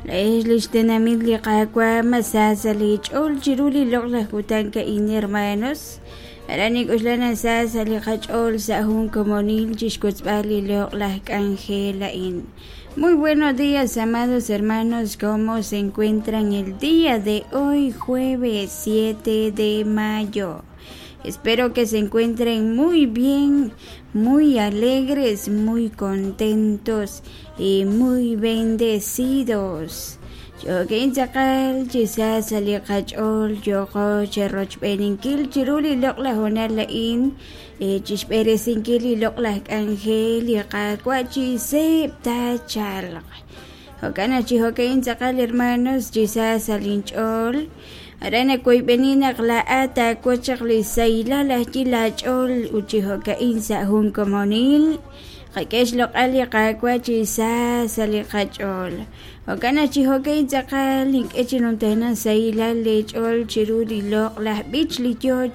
Laa'ex li xtenamit li Qaawa' ma sa sa' leech'ool chiru li loq'laj kutan a'in hermanos. Aran nink'oxla naq sa sa' li qach'ool sa' jun komonil chi xwotzb'al li loq'laj k'anjel a'in. Muy buenos días, amados hermanos, ¿cómo se encuentran el día de hoy, jueves 7 de mayo? Espero que se encuentren muy bien, muy alegres, muy contentos y muy bendecidos. Jo'kin tz'aqal chi sa sa' li qach'ool yooqo cherochb'eeninkil chiru li loq'laj hoonal a'in chi xb'eresinkil li loq'laj k'anjel li Qaawa' chi seeb' taachalq. Jo'kan naq chi jo'ka'in tz'aqal hermanos chi sa sa' linch'ool aran nawoyb'eni naq laa'at taawotz chaq li sahilal ajwi' laach'ool ut chi jo'ka'in sa' jun komonil qak'e xloq'al li Qaawa' chi sa sa' li qach'ool. Jo'kan naq chi jo'ka'in tz'aqal nink'e chi numtajenaq sahilal leech'ool chiru li loq'laj b'ich li yoo.